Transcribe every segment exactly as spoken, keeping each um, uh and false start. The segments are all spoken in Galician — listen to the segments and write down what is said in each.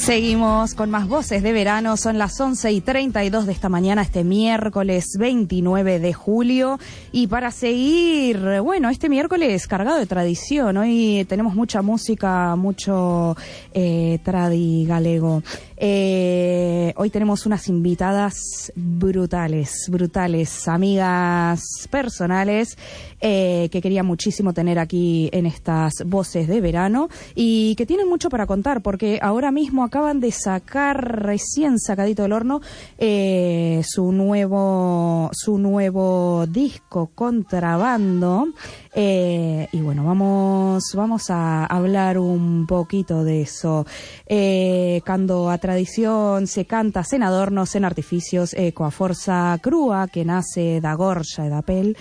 Seguimos con más voces de verano, son las once y treinta y dos de esta mañana, este miércoles veintinueve de julio, y para seguir, bueno, este miércoles cargado de tradición, hoy tenemos mucha música, mucho eh, tradi galego. Eh, hoy tenemos unas invitadas brutales, brutales, amigas personales eh, que quería muchísimo tener aquí en estas voces de verano y que tienen mucho para contar porque ahora mismo acaban de sacar recién sacadito del horno eh, su nuevo su nuevo disco Contrabando. Eh, y bueno, vamos vamos a hablar un poquito de eso. Eh, cando a tradición se canta sen adornos, sen artificios, e coa forza crúa que nace da gorxa e da pel,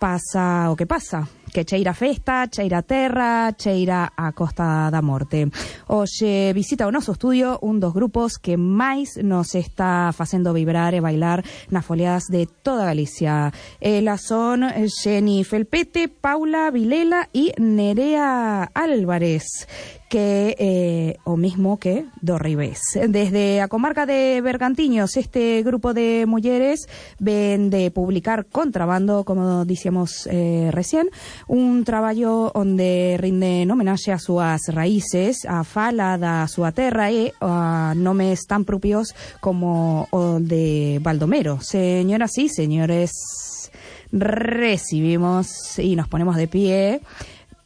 pasa o que pasa, que cheira festa, cheira terra, cheira a Costa da Morte. Hoxe visita o noso estudio un dos grupos que máis nos está facendo vibrar e bailar nas foliadas de toda Galicia. Elas son Xeni Felpete, Paula Vilela e Nerea Álvarez, que eh, o mismo que do Ribés. Desde a comarca de Bergantiños, este grupo de mulleres ven de publicar Contrabando, como dicíamos eh, recién, un traballo onde rinden homenaxe a súas raíces, a fala da súa terra e a nomes tan propios como o de Baldomero. Señoras y señores, recibimos y nos ponemos de pie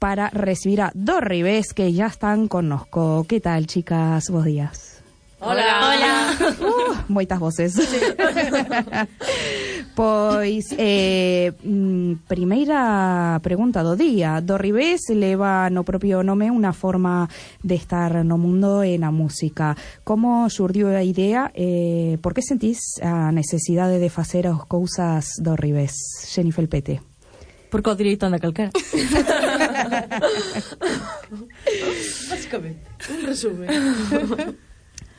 para recibir a Do Ribés, que ya están connosco. ¿Qué tal, chicas? Bos días. Hola. Hola. Uh, moitas voces. Sí. Pois, eh, primeira pregunta do día. Do Ribés leva no propio nome unha forma de estar no mundo e na música. Como xurdiu a idea? Eh, por que sentís a necesidade de facer as cousas do Ribés? Xeni Felpete. Porque o direito anda calquera. Básicamente, un resumen.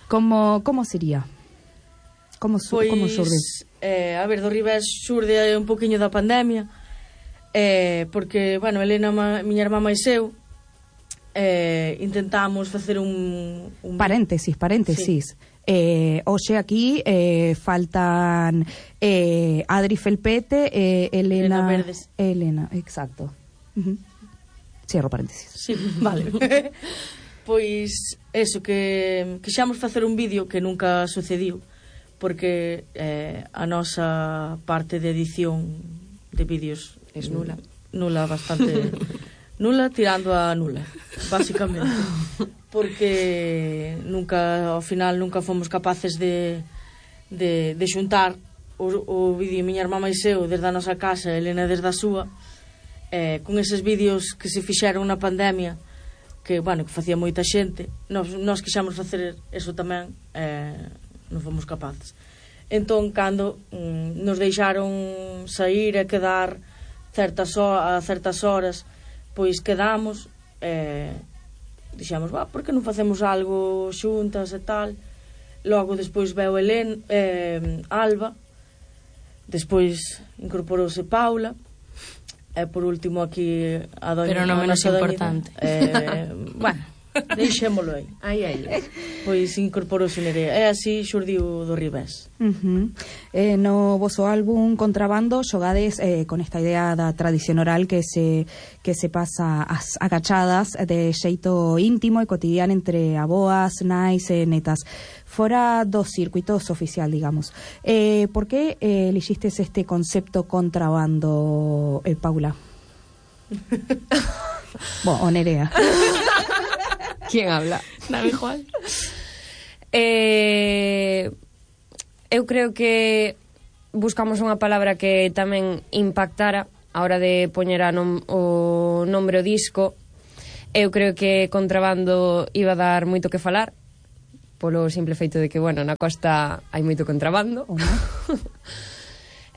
Como, como sería? Como, pois, como xurde? Eh, a ver, do Ribés xurde un poquinho da pandemia, eh, porque, bueno, Elena, ma, miña irmá máis eu, eh, intentamos facer un... un... Paréntesis, paréntesis. Sí. Eh, hoxe aquí eh, faltan eh, Adri Felpete, eh, Elena... Elena Verdes. Elena, exacto. Uh-huh. Cierro paréntesis. Sí, vale. Pois, eso, que quixamos facer un vídeo que nunca sucediu, porque eh, a nosa parte de edición de vídeos es nula. Nula, bastante... nula tirando a nula, básicamente. Porque nunca, ao final, nunca fomos capaces de, de, de xuntar o, o vídeo miña irmá máis eu desde a nosa casa, Elena desde a súa, eh, con eses vídeos que se fixeron na pandemia, que, bueno, que facía moita xente. Nos, nos quixamos facer eso tamén, eh, non fomos capaces. Entón, cando mm, nos deixaron sair e quedar certas ho- a certas horas, pois quedamos, eh, dixemos, va, por que non facemos algo xuntas e tal. Logo despois veu Helen, eh, Alba, despois incorporouse Paula, e por último aquí a doña... Pero non menos importante. Eh, bueno, deixémolo aí. Aí, aí. Pois incorporouse Nerea. E así xurdiu do Ribés. Uh-huh. Eh, no voso álbum Contrabando xogades eh, con esta idea da tradición oral que se que se pasa as agachadas de xeito íntimo e cotidiano entre aboas, nais e netas, fora do circuitos oficial, digamos. Eh, por que eh, elixistes este concepto contrabando, eh, Paula? Bueno, o Nerea. ¿Quién habla? Dame igual. Eh, eu creo que buscamos unha palabra que tamén impactara a hora de poñer a nom, o nombre o disco. Eu creo que Contrabando iba a dar moito que falar, polo simple feito de que, bueno, na costa hai moito contrabando. Oh, no?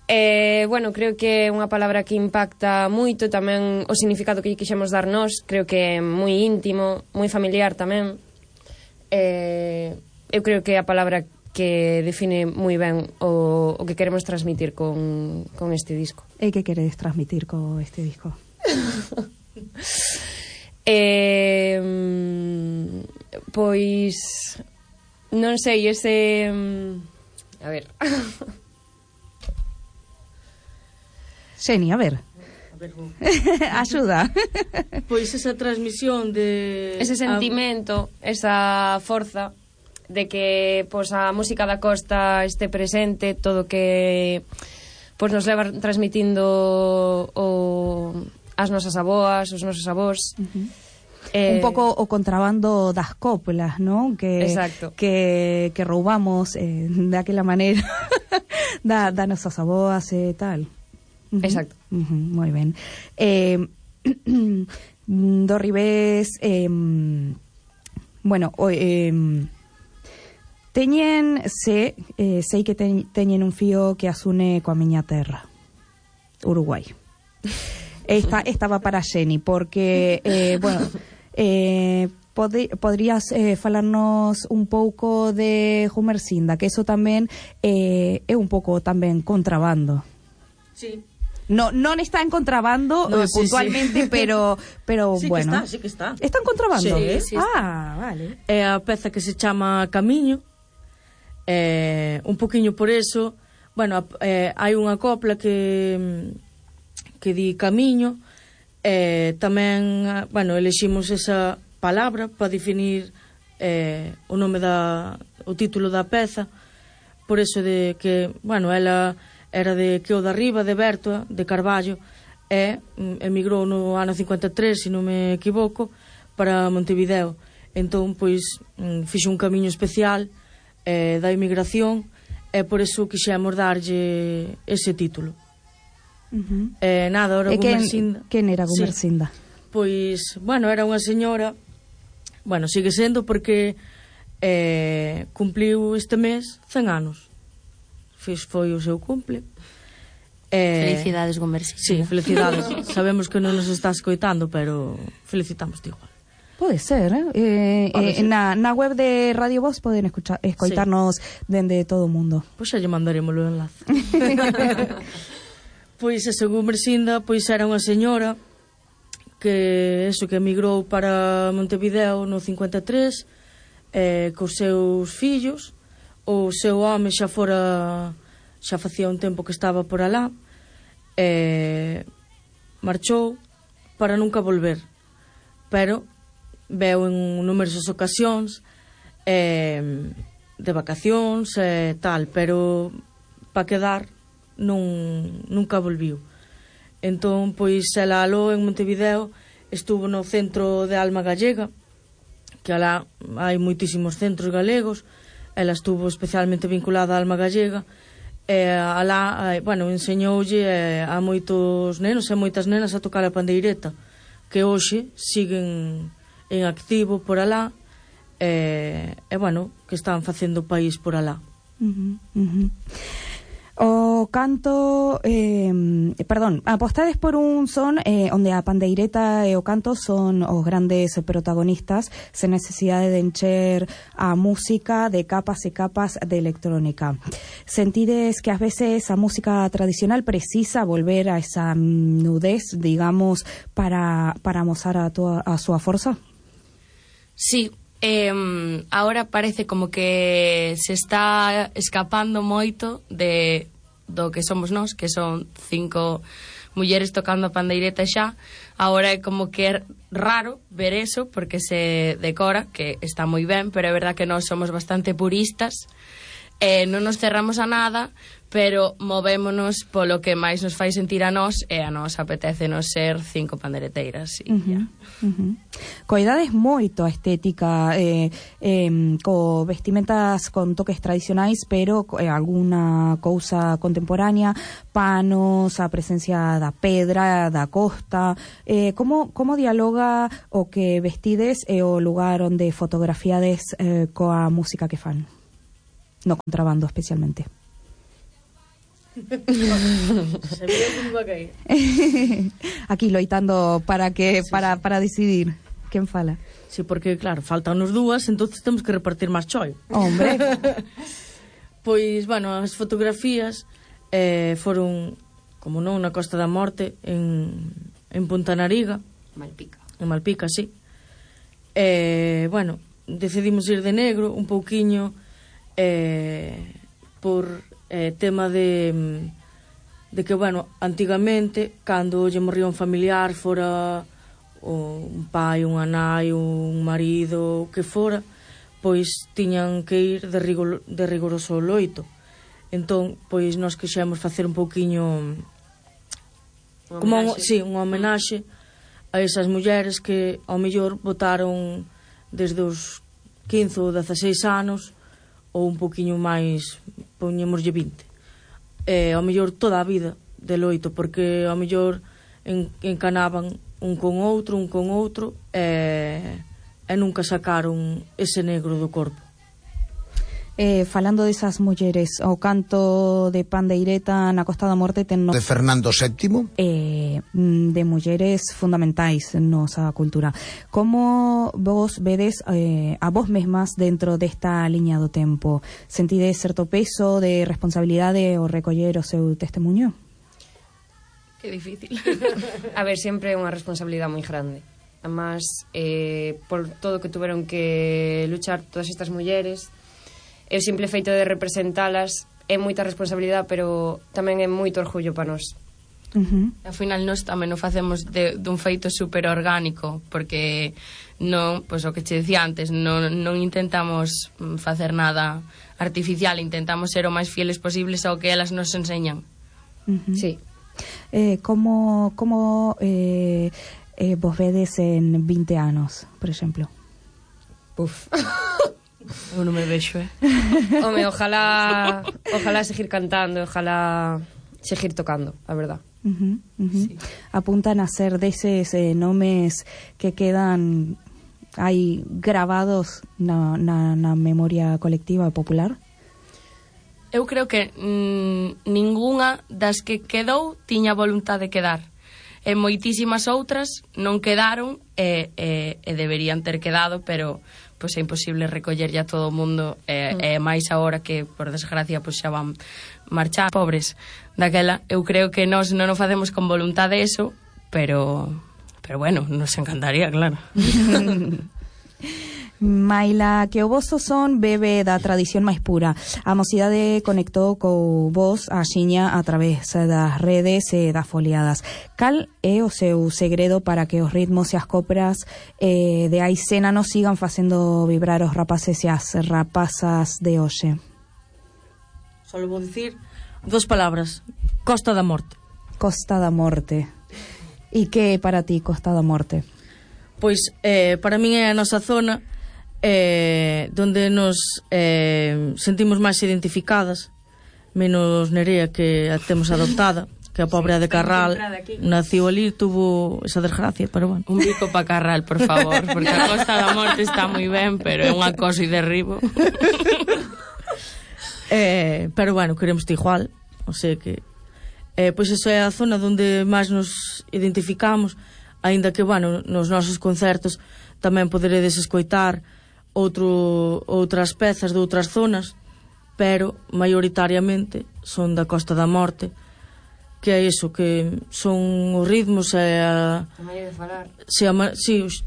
Eh, bueno, creo que é unha palabra que impacta moito, tamén o significado que lle quixemos dar nós, creo que é moi íntimo, moi familiar tamén. Eh, eu creo que é a palabra que define moi ben o, o que queremos transmitir con, con este disco. E que queredes transmitir con este disco? eh, pois non sei, ese... A ver... Xeni, a ver. A ver, vou. Axuda. Pois esa transmisión de... Ese sentimento, a... esa forza de que pois, a música da costa este presente, todo que pois, nos leva transmitindo o, as nosas aboas, os nosos avós. Uh-huh. Eh, un pouco o contrabando das coplas, ¿no? Que, exacto. que, que roubamos eh, de aquela maneira da, da nosas aboas e eh, tal. Uh-huh. Exacto. Uh-huh, moi ben. Eh, do ribés, eh, bueno, o, eh, teñen, se, eh, sei que ten, teñen un fío que asune coa miña terra, Uruguai. Esta, esta va para Xeni, porque, eh, bueno, eh, pod podrías eh, falarnos un pouco de Humercinda, que eso tamén eh, é un pouco tamén contrabando. Sí. No, non está en contrabando no, eh, sí, puntualmente, sí. pero pero sí bueno. Sí que está, sí que está. Está en contrabando? Sí, sí está. Ah, vale. É a peza que se chama Camiño. Eh, un poquinho por eso, bueno, eh, hai unha copla que que di Camiño. Eh, tamén, bueno, eleximos esa palabra para definir eh, o nome da o título da peza, por eso de que, bueno, ela era de Queo da Riba, de Bertoa, de Carballo, e emigrou no ano cincuenta e tres, se non me equivoco, para Montevideo. Entón, pois, fixo un camiño especial eh, da emigración, e por eso quixemos darlle ese título. Uh-huh. Eh, nada, ora Gumercinda. Quen era Gumercinda? Sí. Pois, bueno, era unha señora, bueno, sigue sendo porque eh, cumpliu este mes cen anos. Fiz, foi o seu cumple. Eh, Felicidades, Gumercinda. Sí, felicidades. Sabemos que non nos está escoitando, pero felicitamos igual. Pode ser, eh? eh, Pode eh ser. Na, na web de Radio Voz poden escuchar, escoitarnos sí. dende todo o mundo. Pois xa lle mandaremos o enlace. Pois esa Gumercinda, pois era unha señora que eso que emigrou para Montevideo no cincuenta e tres eh, cos seus fillos. O seu home xa fora, xa facía un tempo que estaba por alá, eh, marchou para nunca volver, pero veu en numerosas ocasións eh, de vacacións e eh, tal, pero para quedar non, nunca volviu. Entón, pois, ela aló en Montevideo, estuvo no centro de Alma Gallega, que alá hai moitísimos centros galegos. Ela estuvo especialmente vinculada á Alma Gallega, e alá, bueno, enseñoulle a moitos nenos e moitas nenas a tocar a pandeireta, que hoxe siguen en activo por alá, e, e bueno, que están facendo o país por alá. Uh-huh, uh-huh. O canto, eh, perdón, apostades por un son eh, onde a pandeireta e o canto son os grandes protagonistas, sen necesidade de encher a música de capas e capas de electrónica. Sentides que ás veces a música tradicional precisa volver a esa nudez, digamos, para, para amosar a, toda, a súa forza? Sí. Eh, ahora parece como que se está escapando moito de do que somos nós, que son cinco mulleres tocando a pandeireta xa. Ahora é como que é raro ver eso porque se decora, que está moi ben, pero é verdad que nós somos bastante puristas, eh, non nos cerramos a nada, pero movémonos polo que máis nos fai sentir a nós, e a nós apetécenos ser cinco pandereteiras. E uh-huh, uh-huh. Coidades moito a estética, eh, eh, co vestimentas con toques tradicionais, pero eh, alguna cousa contemporánea, panos, a presencia da pedra, da costa. Eh, como, como dialoga o que vestides e o lugar onde fotografiades eh, coa música que fan? No contrabando, especialmente. Aquí loitando para que sí, para, sí. para decidir quen fala. Sí, porque claro, faltan nos dúas, entonces temos que repartir máis choi. Hombre. Pois, bueno, as fotografías eh, foron, como non, na Costa da Morte, en, en Punta Nariga. Malpica. En Malpica, sí. Eh, bueno, decidimos ir de negro un pouquiño eh, por eh, tema de de que, bueno, antigamente cando lle morría un familiar, fora un pai, unha nai, un marido, o que fora, pois tiñan que ir de, rigor, de rigoroso loito. Entón, pois nós quixemos facer un pouquiño como un, sí, unha homenaxe a esas mulleres que ao mellor votaron desde os quince ou dezaseis anos ou un pouquiño máis, poñémoslle vinte, e ao mellor toda a vida de loito, porque ao mellor en, encanaban un con outro, un con outro e, e nunca sacaron ese negro do corpo. Eh, falando desas mulleres, o canto de Pandeireta na Costa da Morte ten no... de Fernando séptimo, eh, de mulleres fundamentais nosa cultura. Como vos vedes eh, a vos mesmas dentro desta liña do tempo? Sentides certo peso de responsabilidade o recoller o seu testemunho? Que difícil. A ver, sempre é unha responsabilidade moi grande. Además, eh, por todo que tuveron que luchar todas estas mulleres, e o simple feito de representalas é moita responsabilidade, pero tamén é moito orgullo para nós. Uh-huh. Ao final nós tamén o facemos de, dun feito super orgánico, porque non, pois o que che decía antes, non, non intentamos facer nada artificial, intentamos ser o máis fieles posibles ao que elas nos enseñan. Uh-huh. Sí. Eh, como como eh, eh, vos vedes en vinte anos, por exemplo? Uf. Eu non me vexo, eh? Home, ojalá ojalá seguir cantando, ojalá seguir tocando, a verdad. Uh-huh, uh-huh. Sí. Apuntan a ser deses eh, nomes que quedan aí grabados na, na, na memoria colectiva e popular? Eu creo que mm, ningunha das que quedou tiña voluntad de quedar. E moitísimas outras non quedaron e, e, e deberían ter quedado, pero pois é imposible recollerlle a todo o mundo e, mm. e máis agora que, por desgracia, pois xa van marchar pobres daquela. Eu creo que nós non o facemos con voluntade eso, pero pero bueno, nos encantaría, claro. Maila, que o voso son bebe da tradición máis pura. A mocidade conectou co vos a xiña a través das redes e das foliadas. Cal é o seu segredo para que os ritmos e as coplas eh, de Aicena nos sigan facendo vibrar os rapaces e as rapazas de hoxe? Só vou dicir dos palabras: Costa da Morte. Costa da Morte. E que é para ti Costa da Morte? Pois eh, para min é a nosa zona eh, donde nos eh, sentimos máis identificadas, menos Nerea, que a temos adoptada, que a pobre sí, de Carral naciu ali, tuvo esa desgracia, pero bueno. Un bico pa Carral, por favor, porque a Costa da Morte está moi ben, pero é un acoso e derribo. eh, pero bueno, queremos igual, o sea que eh, pois esa é a zona onde máis nos identificamos, aínda que, bueno, nos nosos concertos tamén poderedes escoitar outro, outras pezas de outras zonas, pero maioritariamente son da Costa da Morte, que é iso, que son os ritmos e a... A maneira de falar. Si, a, si, os,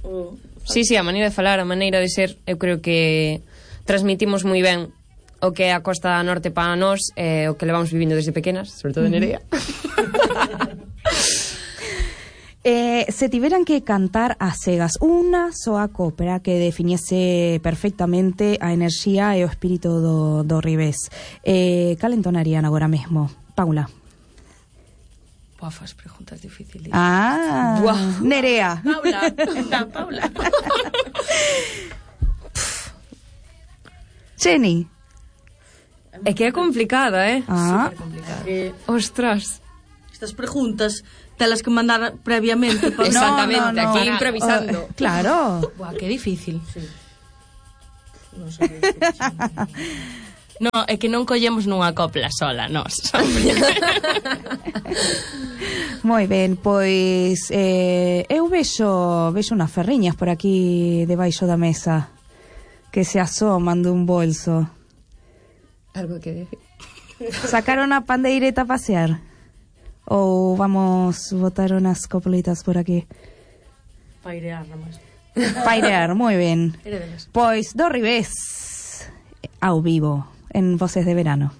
o... Sí, sí, a maneira de falar, a maneira de ser, eu creo que transmitimos moi ben o que é a Costa da Norte para nós, eh, o que levamos vivindo desde pequenas, sobre todo en Nerea. Eh, se tiveran que cantar a cegas unha soa copla que definiese perfectamente a enerxía e o espírito do, do Ribés, eh, cal entonarían agora mesmo? Paula. Buah, faz preguntas difíciles. Ah, Buah. Nerea. Paula, está Paula. Jenny. É que é complicada, eh? Ah, Complicado. Eh, Ostras. estas preguntas telas que mandar previamente para... Exactamente, No, no, no. aquí Para- improvisando. Uh, claro. Buah, que difícil. Sí. Non sei. No, é que non collemos nunha copla sola, nós. Moi ben, pois eh, eu vexo vexo unhas ferriñas por aquí debaixo da mesa que se asoman dun bolso. Algo que decir. Sacaron a pandeireta a pasear? Ou vamos botar unas coplitas por aquí? Pairear, nada máis. Pairear, moi ben. Heredelas. Pois do revés, ao vivo, en Voces de Verano.